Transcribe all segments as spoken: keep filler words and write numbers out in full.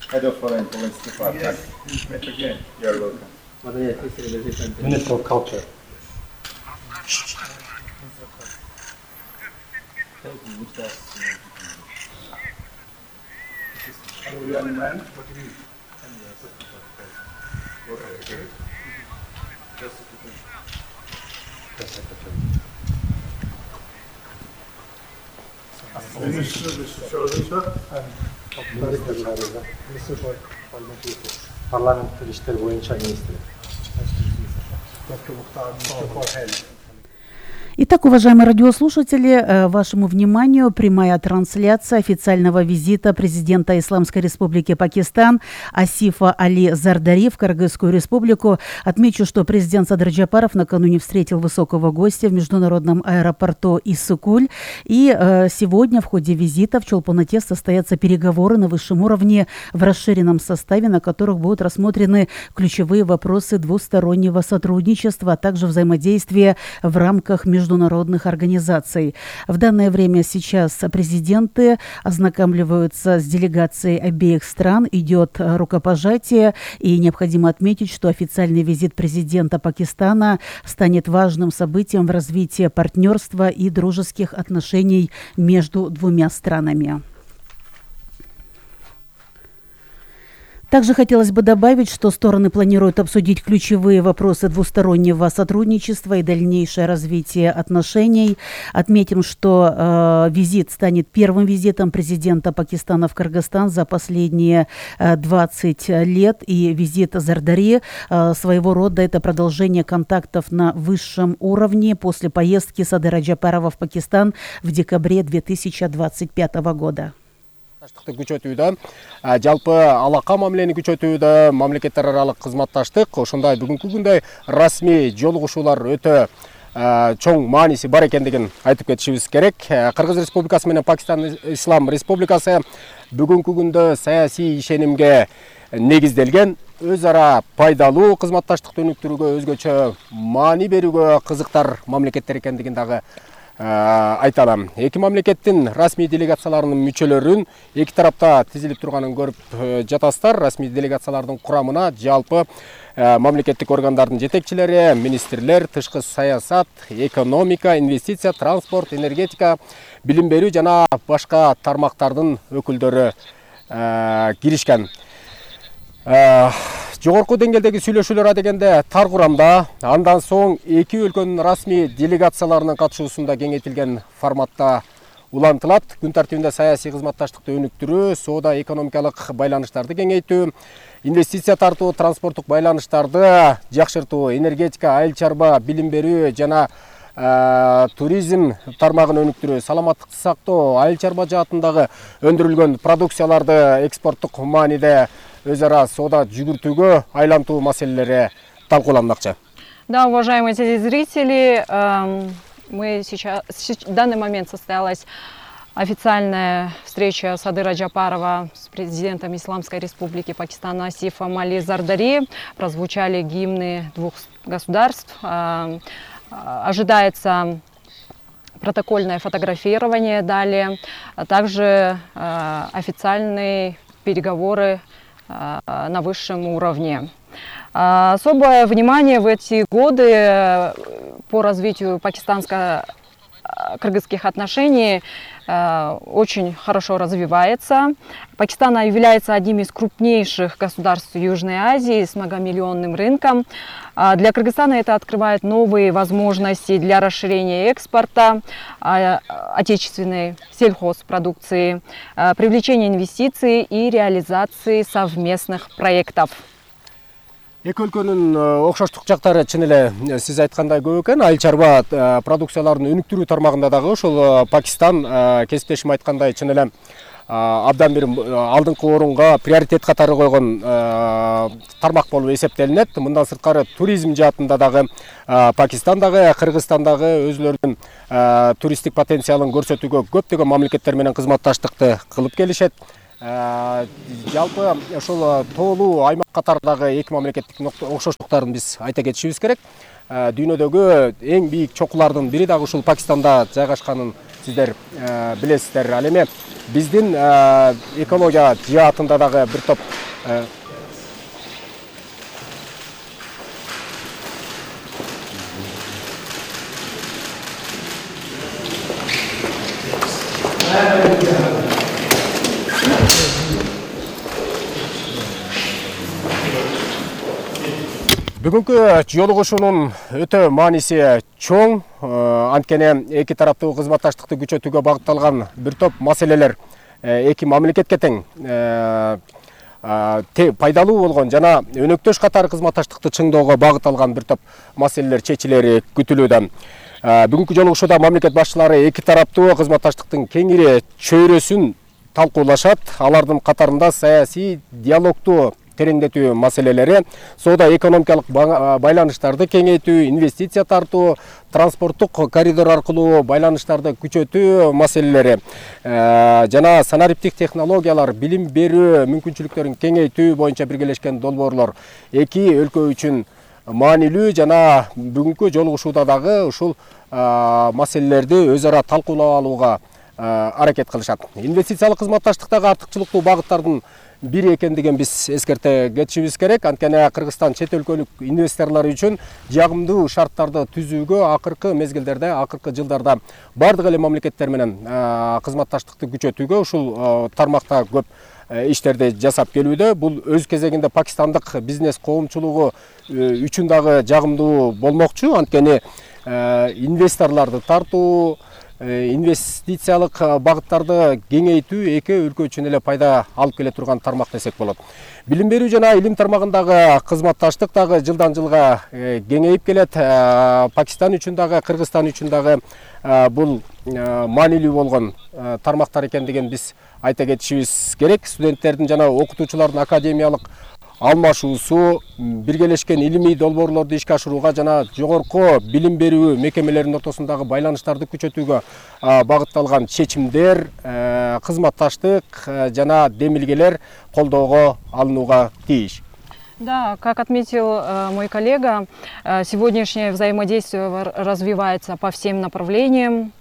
Head of Foreign Policy Department. You're welcome. Minister of Culture. Young man. Парламенттик иштер боюнча министр. Итак, уважаемые радиослушатели, вашему вниманию прямая трансляция официального визита президента Исламской Республики Пакистан Асифа Али Зардари в Кыргызскую Республику. Отмечу, что президент Садыр Джапаров накануне встретил высокого гостя в международном аэропорту Иссыкуль. И э, сегодня в ходе визита в Чолпон-Ате состоятся переговоры на высшем уровне в расширенном составе, на которых будут рассмотрены ключевые вопросы двустороннего сотрудничества, а также взаимодействия в рамках международных международных организаций. В данное время сейчас президенты ознакомливаются с делегацией обеих стран, идет рукопожатие, и необходимо отметить, что официальный визит президента Пакистана станет важным событием в развитии партнерства и дружеских отношений между двумя странами. Также хотелось бы добавить, что стороны планируют обсудить ключевые вопросы двустороннего сотрудничества и дальнейшее развитие отношений. Отметим, что э, визит станет первым визитом президента Пакистана в Кыргызстан за последние э, двадцать лет. И визит Зардари э, своего рода это продолжение контактов на высшем уровне после поездки Садыра Джапарова в Пакистан в декабре две тысячи двадцать пятого года. Күчөтүүдө, жалпы алака мамилени күчөтүүдө, мамлекеттер аралык кызматташтык ошондой бүгүнкү күндө расмий жолугушуулар өтө чоң мааниси бар экендигин айтып кетишибиз керек. Кыргыз Республикасы менен Пакистан Ислам Республикасы бүгүнкү күндө саясий ишенимге негизделген өз ара пайдалуу кызматташтыкты өнүктүрүүгө, өзгөчө маани берүүгө кызыктар мамлекеттер экендигин дагы айта алам. Эки мамлекеттин расмий делегацияларынын мүчөлөрүн эки тарапта тизилип турганын көрүп жатасыздар. Расмий делегациялардын курамына жалпы мамлекеттик органдардын жетекчилери, министрлер, тышкы саясат, экономика, инвестиция, транспорт, энергетика, билим берүү жана башка тармактардын өкүлдөрү киришкен. Жогорку деңгээлдеги сүйлөшүүлөр дегенде тар курамда, андан соң эки өлкөнүн расмий делегацияларынын катышуусунда кеңейтилген форматта улантылат. Күн тартибинде саясий кызматташтыкты өнүктүрүү, соода экономикалык байланыштарды кеңейтүү, инвестиция тартуу, транспорттук байланыштарды жакшыртуу, энергетика, айыл чарба, билим берүү жана туризм тармагын өнүктүрүү, саламаттыкты сактоо, айыл чарба жаатындагы өндүрүлгөн продукцияларды экспорттук мааниде өз ара соода жүгүртүүгө айлантуу маселелери талкууланмакчы. Да, уважаемые телезрители, мы сейчас, в данный момент состоялась официальная встреча Садыра Джапарова с президентом Исламской Республики Пакистана Асифом Али Зардари. Прозвучали гимны двух государств. Ожидается протокольное фотографирование далее, а также официальные переговоры на высшем уровне. Особое внимание в эти годы по развитию пакистанско-кыргызских отношений очень хорошо развивается. Пакистан является одним из крупнейших государств Южной Азии с многомиллионным рынком. Для Кыргызстана это открывает новые возможности для расширения экспорта отечественной сельхозпродукции, привлечения инвестиций и реализации совместных проектов. Эки өлкөнүн окшоштук жактары чын эле сиз айткандай көп экен. Айыл чарба продукцияларын өнүктүрүү тармагында дагы ошол Пакистан кесиптешим айткандай чын эле абдан бир алдыңкы орунга приоритет катары койгон тармак болуп эсептелинет. Мындан сырткары туризм жаатында дагы Пакистан дагы, Кыргызстан дагы өзлөрүнүн туристтик потенциалын көрсөтүүгө көптөгөн мамлекеттер менен кызматташтыкты кылып келишет. Жалпы ошол тоолуу аймак катарындагы эки мамлекеттик окшоштуктарын биз айта кетишибиз керек. дүйнөдөгү эң бийик чокулардын бири дагы ушул Пакистанда жайгашканын сиздер билесиздер. Ал эми биздин экология жаатында дагы бир топ Бүгүнкү жолугушуунун өтө мааниси чоң. Анткени эки тараптуу кызматташтыкты күчөтүүгө багытталган бир топ маселелер эки мамлекетке тең пайдалуу болгон жана өнөктөш катары кызматташтыкты чыңдоого багытталган бир топ маселелер чечилери күтүлүүдө. Бүгүнкү жолугушууда мамлекет башчылары эки тараптуу кызматташтыктын кеңири чөйрөсүн талкуулашат. Алардын катарында саясий диалогту тереңдетүү маселелери, соода экономикалык байланыштарды кеңейтүү, инвестиция тартуу, транспорттук коридор аркылуу байланыштарды күчөтүү маселелери жана санариптик технологиялар, билим берүү мүмкүнчүлүктөрүн кеңейтүү боюнча биргелешкен долбоорлор эки өлкө үчүн маанилүү жана бүгүнкү жолугушууда дагы ушул маселелерди өз ара талкуулап алууга аракет кылышат. Инвестициялык кызматташтыктагы артыкчылыктуу багыттардын бири экендигин биз эскерте кетишибиз керек. Анткени Кыргызстан чет өлкөлүк инвесторлор үчүн жагымдуу шарттарды түзүүгө акыркы мезгилдерде, акыркы жылдарда бардык эле мамлекеттер менен кызматташтыкты күчөтүүгө ушул тармакта көп иштерди жасап келүүдө. Бул өз кезегинде пакистандык бизнес коомчулугу үчүн дагы жагымдуу болмокчу. Анткени инвесторлорду тартуу, инвестициялык багыттарды кеңейтүү эки өлкө үчүн эле пайда алып келе турган тармак десек болот. Билим берүү жана илим тармагындагы кызматташтык дагы жылдан жылга кеңейип келет. Пакистан үчүн дагы, Кыргызстан үчүн дагы бул маанилүү болгон тармактар экендигин биз айта кетишибиз керек. Студенттердин жана окутуучулардын академиялык алмашуусу, биргелешкен илимий долбоорлорду ишке ашырууга жана жогорку билим берүү мекемелеринин ортосундагы байланыштарды күчөтүүгө багытталган чечимдер, кызматташтык жана демилгелер колдоого алынууга тийиш. Да, как отметил э, мой коллега, э, сегодняшнее взаимодействие развивается по всем направлениям.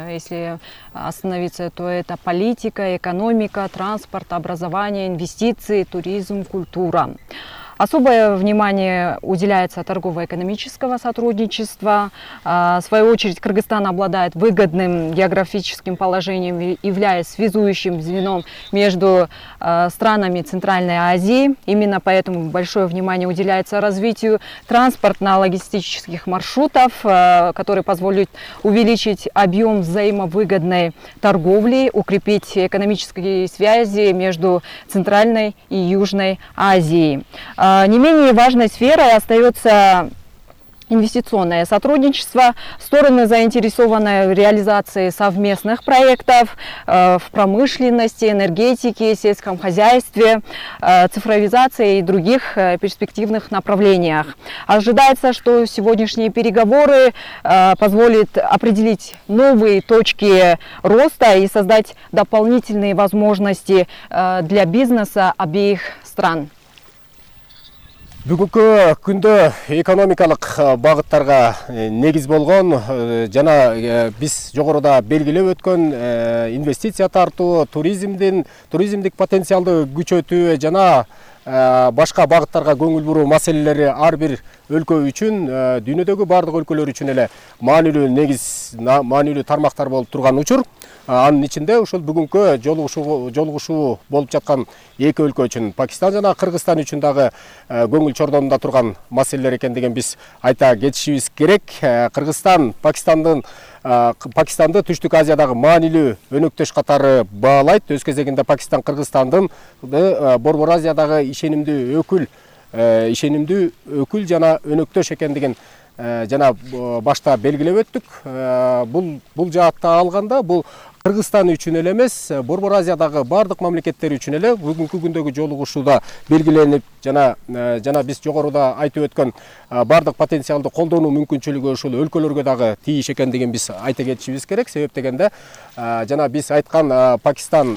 Если остановиться, то это политика, экономика, транспорт, образование, инвестиции, туризм, культура. Особое внимание уделяется торгово-экономического сотрудничества. В свою очередь, Кыргызстан обладает выгодным географическим положением, являясь связующим звеном между странами Центральной Азии. Именно поэтому большое внимание уделяется развитию транспортно-логистических маршрутов, которые позволят увеличить объем взаимовыгодной торговли, укрепить экономические связи между Центральной и Южной Азией. Не менее важной сферой остается инвестиционное сотрудничество. Стороны заинтересованы в реализации совместных проектов в промышленности, энергетике, сельском хозяйстве, цифровизации и других перспективных направлениях. Ожидается, что сегодняшние переговоры позволят определить новые точки роста и создать дополнительные возможности для бизнеса обеих стран. Бүгүнкү күндө экономикалык багыттарга негиз болгон жана биз жогоруда белгилеп өткөн инвестиция тартуу, туризмдин туризмдик потенциалды күчөтүү жана башка багыттарга көңүл буруу маселелери ар бир өлкө үчүн, дүйнөдөгү бардык өлкөлөр үчүн эле маанилүү негиз, маанилүү тармактар болуп турган учур. Анын ичинде ушул бүгүнкү жолугушуу жолугушуу болуп жаткан эки өлкө үчүн, Пакистан жана Кыргызстан үчүн дагы көңүл чордонунда турган маселелер экендигин биз айта кетишибиз керек. Кыргызстан Пакистандын Пакистанды Түштүк Азиядагы маанилүү өнөктөш катары баалайт. Өз кезегинде Пакистан Кыргызстандын Борбор Азиядагы ишенимдүү өкүл, ишенимдүү өкүл жана өнөктөш экендигин жана башта белгилеп өттүк. Бул бул жаатта алганда бул Кыргызстан үчүн эле эмес, Борбор Азиядагы бардык мамлекеттер үчүн эле бүгүнкү күндөгү жолугушууда белгиленип жана жана биз жогоруда айтып өткөн бардык потенциалды колдонуу мүмкүнчүлүгү ушул өлкөлөргө дагы тийиш экендигин биз айта кетишибиз керек. Себеп дегенде жана биз айткан Пакистан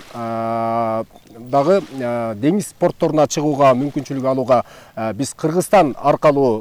дагы деңиз портторуна чыгууга мүмкүнчүлүк алууга биз Кыргызстан аркылуу